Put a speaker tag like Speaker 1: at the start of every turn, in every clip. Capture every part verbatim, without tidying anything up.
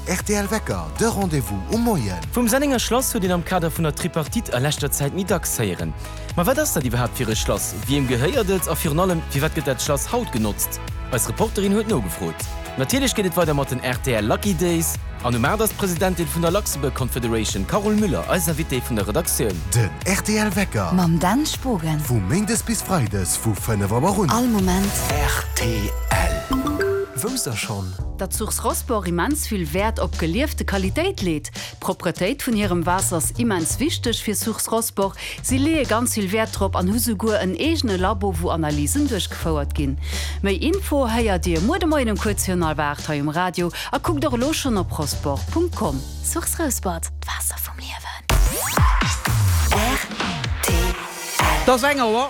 Speaker 1: R T L Wecker, de Rendez-vous um Moien.
Speaker 2: Vum Sennenger Schlass huet een am Kader vun der Tripartite a leschter Zäit méi dacks héieren. Ma wat ass dat iwwerhaapt fir e Schlass? Wiem gehéiert et a virun allem, firwat gëtt dat Schlass haut genotzt? Eis Reporterin huet nogefrot. Natierlech geet et weider mat den R T L Lucky Days an um aacht ass d'Presidentin vun der Luxembourg Confederation Carole Müller eis Invitée vun der Redaktioun.
Speaker 1: Den R T L Wecker.
Speaker 3: Mam Dan Spogen.
Speaker 1: Vu méindes bis freides vu fënnef Auer un.
Speaker 3: All Moment.
Speaker 4: R T L. Wousst der schonn?
Speaker 5: Datt Source Rosport immens vill Wäert op geliefte Qualitéit leet. D'Propretéit vun hirem Waasser ass immens wichteg fir Source Rosport. Si leeë ganz vill Wäert drop an hu souguer en eegene Labo wou Analysen duerchgefouert ginn. Méi Info héiert Dir muer de Moien um kuerz virun hallwer aacht hei um Radio a kuckt och elo schonn op rosport Punkt com.
Speaker 3: Source Rosport, d'Waasser vum Liewen. R T L.
Speaker 6: Et ass eng Auer.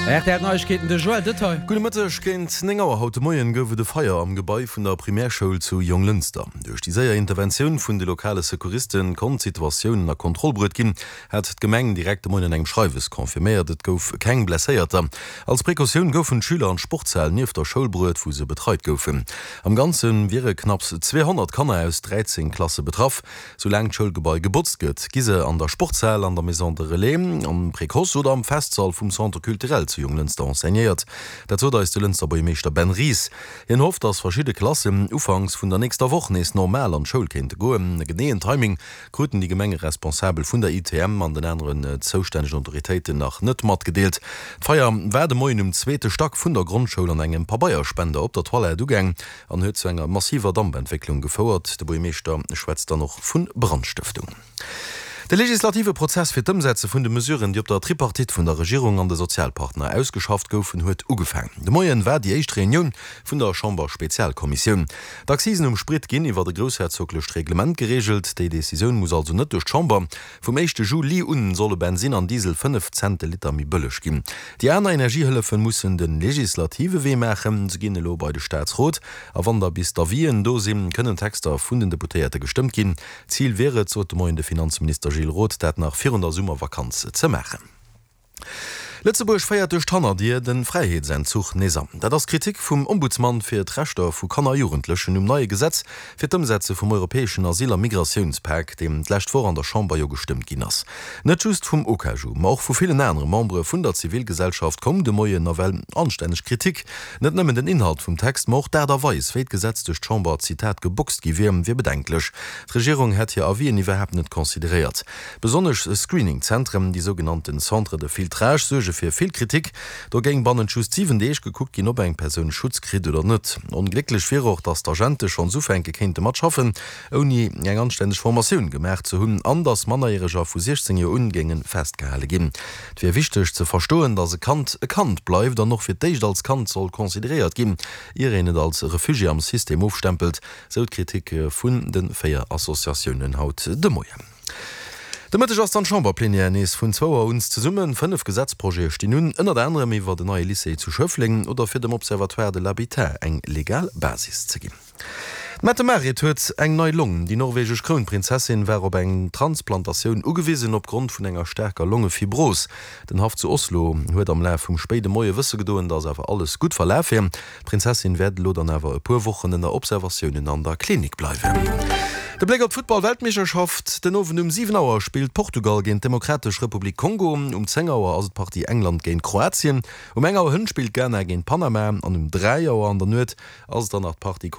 Speaker 6: R T L Neiegkeeten, de Joël Detail.
Speaker 7: Gudde Mëtteg, Géint néng Auer haut de Moien gouf et e Feier am Gebai vun der Primärschoul zu Jonglënster. Duerch déi séier Interventioun vun de lokale Secouriste konnt d'Situatioun ënner Kontroll bruet ginn, hat d'Gemeng direkt de Moien an engem Schreiwes confirméiert. Et gouf keng Blesséierter. Als Precautioun goufen d'Schüler an d'Sportshal nieft der Schoul bruet, wou se betreit goufen. Am Ganze wiere knapps zweehonnert Kanner aus dräizéng Klasse betraff. Soulaang d'Schoulgebai gebotzt gëtt, gi se an der Sportshal, an der Maison de Relais, am Précoce oder am Festsall vum Centre Culturel zu Jonglënster enseignéiert. Dat sot eis de Lënster Buergermeeschter Ben Ries. Hien hofft, datt verschidde Klassen ufanks vun der nächster Woch nees normal an d'Schoul kéinte goen. E geneeën Timing kruten déi Gemengeresponsabel vun der I T M an den aneren zoustännegen Autoritéiten nach net matgedeelt. D'Feier war de Moien um zweete Stack vun der Grondschoul an engem Pabeierspender op der Toilette ugaang an huet zu enger massiver Dampentwécklung gefouert. De Buergermeeschter schwätzt dann och vu Brandstëftung. De legislative Prozess fir d'Ëmsetze vun de Mesuren, déi op der Tripartite vun der Regierung an de Sozialpartner ausgeschafft goufen, huet ugefaangen. De Moien war déi éischt Reunioun vun der Chamber-Spezialkommissioun. D'Accisen um Sprit ginn iwwer e groussherzoglecht Reglement gereegelt. Déi Decisioun muss also net duerch d'Chamber. Vum éischte Juli un solle Bensin an Diesel fënnef Cent de Liter méi bëlleg ginn. Déi aner Energiehëllefe mussen de legislative Wee maachen. Se ginn elo bei de Staatsrot a wann da bis d'Avisen do sinn, kënnen Texter vun den Deputéierte gestëmmt ginn. Zil wier et, sot de Moien de Finanzminister Gilles Roth, dat nach virun der Summervakanz ze maachen. Lëtzebuerg féiert duerch d'Hannerdier de Fräiheetsentzuch nees an. Dat ass d'Kritik vum Ombudsman fir d'Rechter vu Kanner a Jugendlechen um neie Gesetz fir d'Ëmsetze vum europäeschen Asyl a Migratiounspak, deem d'lescht Woch an der Chamber jo gestëmmt ginn ass. Net just vum OKaJu, ma och vu villen anere Membere vun der Zivilgesellschaft koum de Moien nawell anstänneg Kritik. Net nëmmen den Inhalt vum Text, ma och d'Aart a Weis, wéi d'Gesetz duerch d'Chamber, Zitat, geboxt gi wier, wier bedenklech. D'Regierung hätt hir Avisen iwwerhaapt net consideréiert. Besonnesch Screening-Zentren, déi sougenannten Centres de filtrage, suerge fir vill Kritik. Do géing bannent just siwen Deeg gekuckt ginn, ob eng Persoun Schutz kritt oder net. Onglécklech wier och, datt d'Agente schonns ufänke kéinte mat schaffen, ouni eng anstänneg Formatioun gemaach ze hunn, an datt Mannerjäreger vu siechzéng Joer un géinge festgehale ginn. Et wier wichteg ze verstoen, datt e Kand e Kand bleift an och fir d'éischt als Kand soll consideréiert ginn, ier een et als Refugié am System ofstempelt, sou d'Kritik vun de véier Associatiounen haut de Moien. De Mëtteg ass dann d'Chamberplenière nees vun zwou Auer un zesummen. Fënnef Gesetzprojete stinn un, ënnert anerem iwwer den neie Lycée zu Schëffleng oder fir dem Observatoire de l'habitat eng legal Basis ze ginn. D'Mette-Marit huet eng nei Long. Déi norwegesch Krounprinzessin war op eng Transplantatioun ugewisen opgrond vun enger staarker Longefibros. Den Haff zu Oslo huet am Laf vum spéide Moie wësse gedoen, datt awer alles gutt verlaf wier. D'Prinzessin wäert elo dann awer e puer Wochen ënner Observatiounen an der Klinik bleiwen. De Bléck op d'Futtball-Weltmeeschterschaft, Den Owend um siwen Auer spillt Portugal géint d'Demokratesch Republik Kongo. Um zéng Auer ass et d'Partie England géint Kroatien. Um eng Auer hënt spillt Ghana géint Panama an um dräi Auer an der Nuet ass et dann nach d'Partie